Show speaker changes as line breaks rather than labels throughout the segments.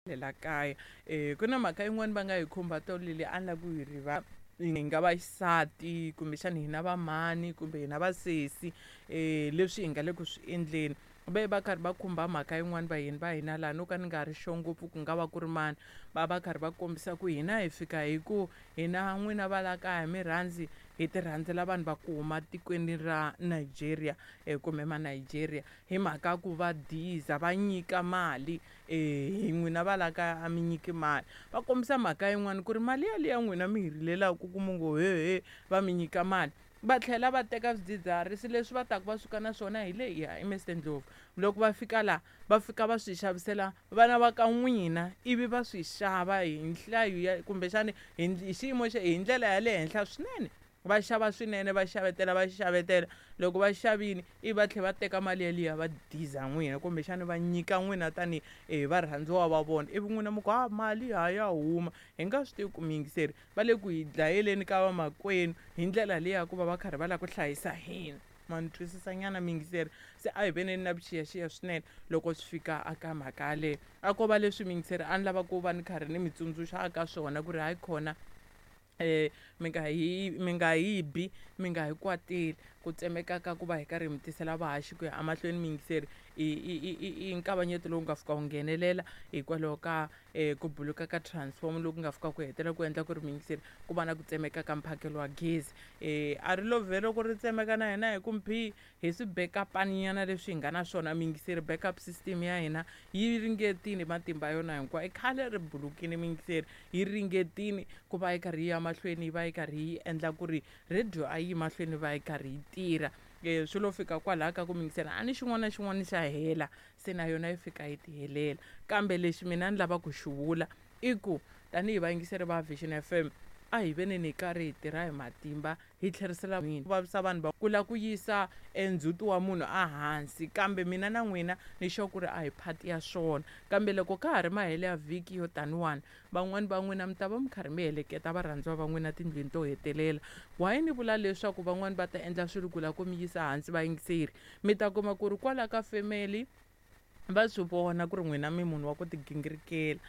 La kaya ku na mhaka yin'wani va nga yi khumba tolo leyi a ni lava ku yi rivala hi nga vaxisati kumbexana hina va mhani kumbe hina vasesi leswi hi nga le ku swi endleni ve va karhi va khumba mhaka yin'wani vayeni va hina laha no ka ni nga ri sure ngopfu ku nga va ku ri mani va va karhi va kombisa ku hina hi fika hi ku hina n'wina va la kaya mi rhandzi hi ti rhandzela vanhu va ku huma tikweni ra Nigeria kumbe ma Nigeria hi mhaka ku va diza va nyika mali hi n'wina va la kaya a mi nyiki mali va kombisa mhaka yin'wani ku ri mali yaliya n'wina mi hi rilelaku ku mu ngo hehe va mi nyika mali va tlhela va teka swidzidziharisi leswi va taku va suka na swona hi le ya Mr Ndlovu loko va fika la va fika va swi xavisela vana va ka n'wina ivi va swi xava hi nhlayo ya kumbexani hi xiyimo xa hi ndlela ya le henhla swinene va xava swinene va xavetela va xavetela loko va xavini ivi va tlhela va teka mali yaliya va diza n'wina kumbexana va nyika n'wina tanihi hi varhandziwa va vona ivi n'wina mi ku ha mali ha ya huma hi nga swi tivi ku muyingiseri va le ku hi dlayeleni ka vamakwenu hi ndlela leyi ya ku va va karhi va lava ku hlayisa hina ma ni twisisa nyana muyingiseri se a hi veneni na vuxiyaxiya swinene loko swi fika aka mhaka yaleyo a ko va leswi muyingiseri a ni lava ku va ni karhi ni mi tsundzuxa aka swona ku ri hayi khona mi nga hi mi nga hi bi mi nga hi kwateli ku tsemeka ka ku va hi karhi hi mi tisela vahaxi ku ya emahlweni muyingiseri i i i i i nkavanyeto lowu nga fika wu nghenelela hikwalaho ka ku buluka ka transform loku nga fika ku hetelela ku endla ku ri muyingiseri ku va na ku tsemeka ka mphakelo wa gezi a ri lo vhe loko ri tsemeka na hina hi ku mphi hi swi backup-ani nyana leswi hi nga na swona muyingiseri backup system ya hina yi ringetile matimba yona hinkwayo i khale ri bulukile muyingiseri yi ringetile ku va yi karhi yi ya mahlweni yi va yi karhi yi endla ku ri radio a yi mahlweni va yi karhi yi tirha swi lo fika kwalaya ka ku muyingiseri a ni xin'wana na xin'wana xa hela se na yona yi fika yi ti helela kambe lexi mina ni lava ku xi vula i ku tanihi vayingiseri va Vision FM a hi veneni hi karhi hi tirha hi matimba hi tlherisela ku vavisa vanhu va ku lava ku yisa endzhuti wa munhu ehansi kambe mina na n'wina ni sure ku ri a hi phati ya swona kambe loko ka ha ri mahelo ya vhiki yo taniwani van'wani va n'wina mi ta va mi karhi mi heleketa varhandziwa va n'wina tindlwini to hetelela why ni vula leswaku van'wani va ta endla swilo ku lava ku mi yisa hansi vayingiseri mi ta kuma ku ri kwala ka family va swi vona ku ri n'wina mi munhu wa ku tigingirikela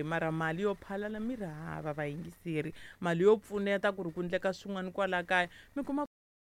mara mali yo phalala mi ri hava vayingiseri mali yo pfuneta ku ri ku endleka swin'wana kwala kaya mi kuma.